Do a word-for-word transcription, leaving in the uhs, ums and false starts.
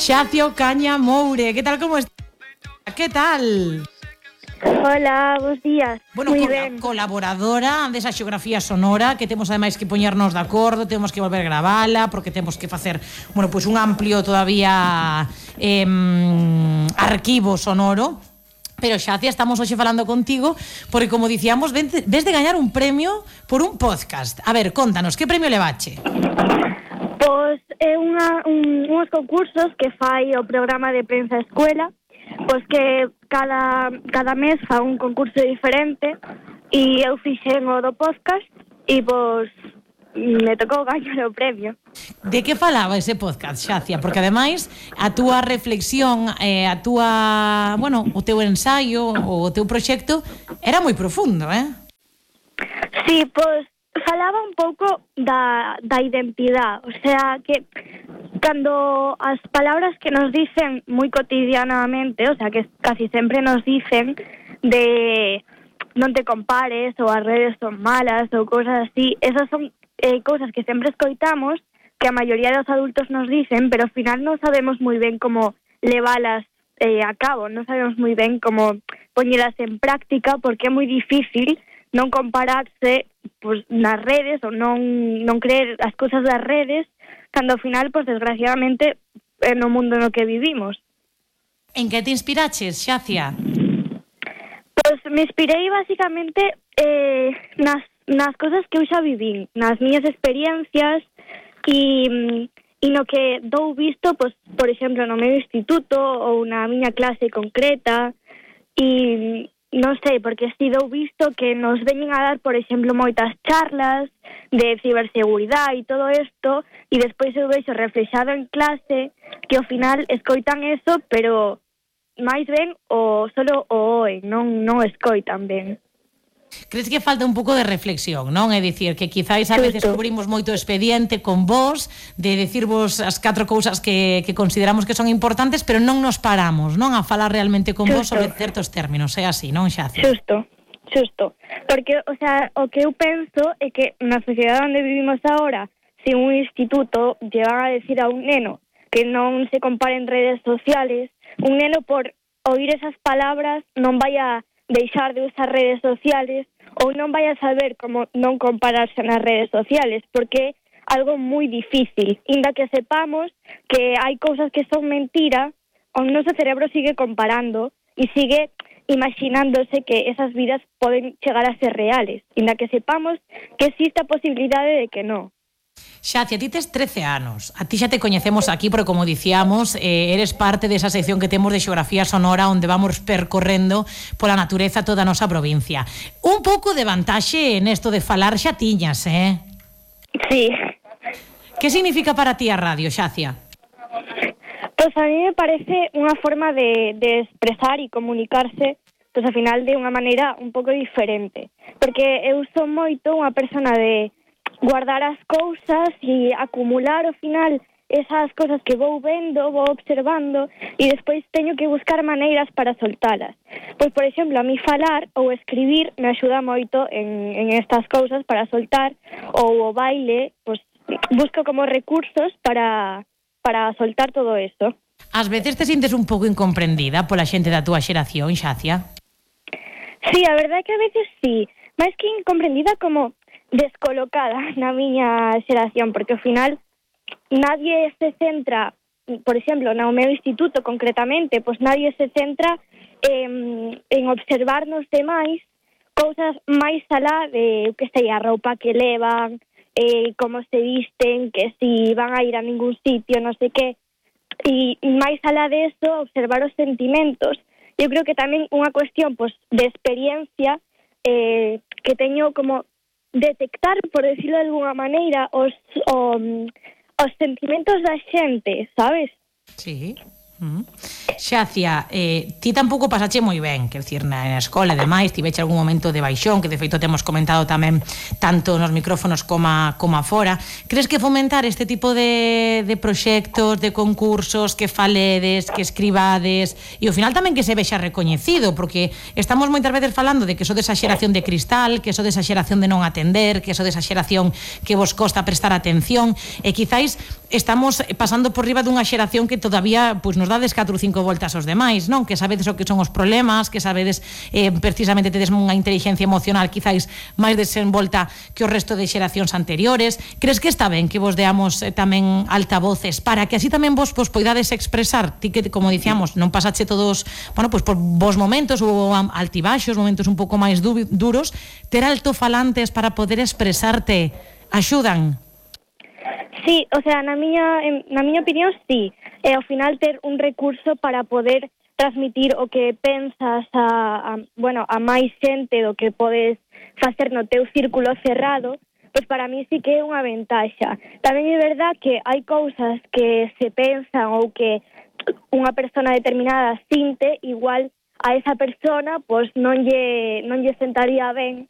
Xacia Ocaña Moure, ¿qué tal, cómo estás? ¿Qué tal? Hola, bons días. Bueno, Muy col ben. colaboradora desa xeografía sonora que temos ademais que poñernos de acordo, temos que volver a gravala porque temos que facer, bueno, pois un amplio todavía eh, arquivo sonoro. Pero Xacia, estamos hoxe falando contigo porque, como dicíamos, ves de gañar un premio por un podcast. A ver, contanos, que premio levache? Pois é unha, un, uns concursos que fai o programa de Prensa Escuela, pois que cada, cada mes fa un concurso diferente e eu fixen o do podcast e pois me tocou gañar o premio. De que falaba ese podcast, Xacia? Porque ademais a túa reflexión, eh, a túa, bueno, o teu ensaio, o teu proxecto era moi profundo, eh? Sí, pois falaba un pouco da, da identidade, o sea, que cando as palabras que nos dicen moi cotidianamente, o sea, que casi sempre nos dicen de non te compares, ou as redes son malas, ou cosas así, esas son eh, cousas que sempre escoitamos, que a maioría dos adultos nos dicen, pero ao final non sabemos moi ben como levalas eh, a cabo, non sabemos moi ben como poñelas en práctica, porque é moi difícil non compararse pues, nas redes ou non, non creer as cousas das redes, cando ao final, pues, desgraciadamente, é no mundo no que vivimos. En que te inspiraches, Xacia? Pois me inspirei basicamente eh, nas, nas cosas que eu xa vivín, nas miñas experiencias e, e no que dou visto, pois, por exemplo, no meu instituto ou na miña clase concreta e non sei, porque si dou visto que nos veñen a dar, por exemplo, moitas charlas de ciberseguridade e todo isto e despois eu vexo reflexado en clase que ao final escoitan eso, pero máis ben o solo o oen, non, non escoitan ben. Crees que falta un pouco de reflexión, non? É dicir, que quizáis a veces cubrimos moito expediente con vos, de decirvos as catro cousas que, que consideramos que son importantes, pero non nos paramos, non? A falar realmente con vos sobre certos términos, é así, non, Xacia? Xusto, xusto. Porque, o sea, o que eu penso é que na sociedade onde vivimos agora, se un instituto llevan a decir a un neno que non se compare en redes sociales, un neno por oír esas palabras non vai a deixar de usar redes sociales ou non vai a saber como non compararse nas redes sociales, porque é algo moi difícil. Inda que sepamos que hai cousas que son mentira, o noso cerebro sigue comparando e sigue imaginándose que esas vidas poden chegar a ser reales, inda que sepamos que existe a posibilidade de que non. Xacia, ti tes trece anos. A ti xa te coñecemos aquí, porque, como dicíamos, eh, eres parte desa sección que temos de xeografía sonora onde vamos percorrendo pola natureza toda a nosa provincia. Un pouco de vantaxe nesto de falar xa tiñas, eh? Sí. Que significa para ti a radio, Xacia? Pois a mí me parece unha forma de, de expresar e comunicarse, pois ao final de unha maneira un pouco diferente. Porque eu son moito unha persona de guardar as cousas e acumular ao final esas cousas que vou vendo, vou observando e despois teño que buscar maneiras para soltalas. Pois, por exemplo, a mí falar ou escribir me axuda moito en, en estas cousas para soltar, ou o baile, pois busco como recursos para, para soltar todo isto. Ás veces te sintes un pouco incomprendida pola xente da túa xeración, Xacia? Sí, a verdade é que a veces sí, máis que incomprendida, como descolocada na miña xeración, porque ao final nadie se centra, por exemplo, no meu instituto concretamente, pois nadie se centra en, en observar nos demais cousas máis alá de, que sei, a roupa que levan, eh, como se visten, que si van a ir a ningún sitio, non sei que, e máis alá de eso, observar os sentimentos. Eu creo que tamén unha cuestión pois, de experiencia eh, que teño como detectar, por decirlo de alguna maneira, os, o, os sentimentos da xente, sabes? Sí. Uh-huh. Xacia, eh, ti tampouco pasache moi ben, quer dicir, na, na escola e demais, tiveche algún momento de baixón, que de feito temos comentado tamén tanto nos micrófonos como, como afora. Crees que fomentar este tipo de, de proxectos, de concursos, que faledes, que escribades, e ao final tamén que se vexa recoñecido, porque estamos moitas veces falando de que so desa xeración de cristal, que so desa xeración de non atender, que so desa xeración que vos costa prestar atención, e quizáis estamos pasando por riba dunha xeración que todavía pois, nos dades catro ou cinco voltas aos demais, non? Que sabedes o que son os problemas, que sabedes eh, precisamente tedes unha inteligencia emocional quizáis máis desenvolta que o resto de xeracións anteriores. Crees que está ben que vos deamos eh, tamén altavoces para que así tamén vos, vos poidades expresar? Ti que, como dicíamos, non pasache todos, bueno, pois por vos momentos ou altibaxos, momentos un pouco máis duros, ter altofalantes para poder expresarte axudan? Sí, o sea, na miña, na miña opinión, sí. E ao final ter un recurso para poder transmitir o que pensas a, a, bueno, a máis xente do que podes facer no teu círculo cerrado, pois para mí sí que é unha ventaxa. Tamén é verdad que hai cousas que se pensan ou que unha persona determinada sinte, igual a esa persona pois non lle, non lle sentaría ben